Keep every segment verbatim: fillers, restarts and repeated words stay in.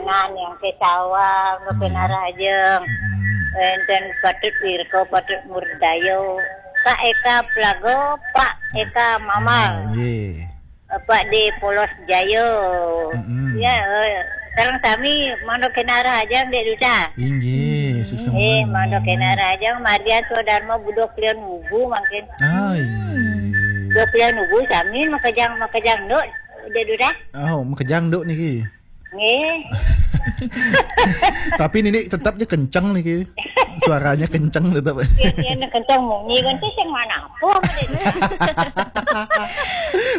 Nah, yang ke sawah, ke Nggih. Narajeng. Mm-mm. Enten Patut Wirko, Patut Murdayo. Pak Eka Plago, Pak Eka Mamal. Ah, nggih. Pak di Polos Jayo. Mm-mm. Ya, eh, sekarang kami mangda kena rahajeng, Dek Duta. Inggih, hmm, suksma. Eh, mangda kena rahajeng, Maria Swadarma Budo Klion Wubu mangkin. Ah, inggih. Budo Klion Wubu sami makejang, makejang nduk, Dek Duta. Oh, makejang nduk niki. Nggih. Tapi nini tetap je kenceng niki. Suaranya kenceng tetap. Ya, ya, kenceng munyi kan tu sing mana apa?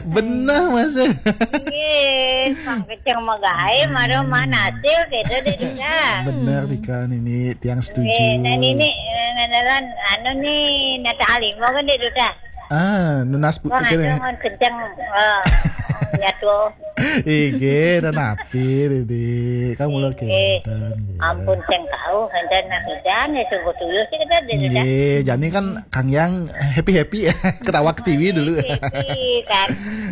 Benar, Mas. Nggih, pang kenceng magae, maro mana hasil gitu deh, Dika. Benar, Dika, nini tiang setuju. Nggih, nah, nini, eh, ngenelan, anu nih, nata alimo kan deh, Duta. Ah, nunas pu-, Wah, kene. Aduh, mun kenceng, eh, nyatu. Ige, dan api, Didi. Kamu lo Ige. Kenten, ya. Ampun, sing tahu, kenten nak hujan, ya sungguh tuyul sih kita, Didi, dah. Ige, jani kan Kang Yang happy-happy ya, ketawa ke T V dulu. Happy, kan.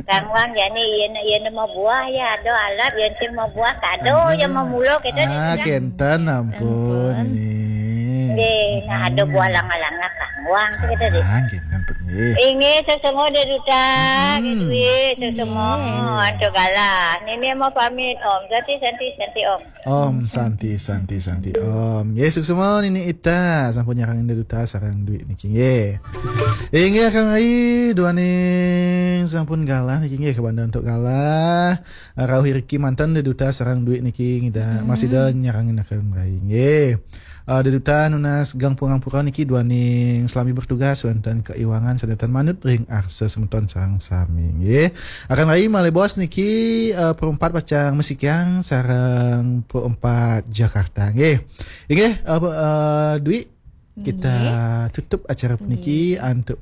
Kang Wang, jani, iya, iya, mau buah, ya, ada alap, ya, sing mau buah, kado, ya, mau mulo, kita, ah, Didi, dah. Kenten, ampun, ampun. Ini. Nggih, nah, ada buah langa-langa, Kang Wang, sih kita, Didi. Ah, kenten, ampun, nggih. Inggih, sesemo, Dek Duta. Hmm. Nggih, duit, sesemo. Nggih. Antuk galah. Nini mau pamit, Om. Santi, santi, santi, Om. Om, santi, santi, santi, Om. Nggih, suksma Nini Ita. Sampun nyarang Dek Duta sareng duit niki, nggih. Inggih, Kang Rai, duaning sampun galah niki, nggih, kabanda antuk galah. Rauh iriki manten Dek Duta sareng duit niki, ngida, hmm, masih da nyarangin Kang Rai, nggih. Eh, Dek Duta nunas geng pangampura niki duaning selami bertugas wonten keiwangan sedanten manut ring arsa semeton sareng sami, nggih. Akan rai malih bos niki, eh, perempat pacang masikiang sareng perempat Jakarta, nggih. Inggih, eh, eh, Dwi, kita, nggih, tutup acara puniki, nggih, antuk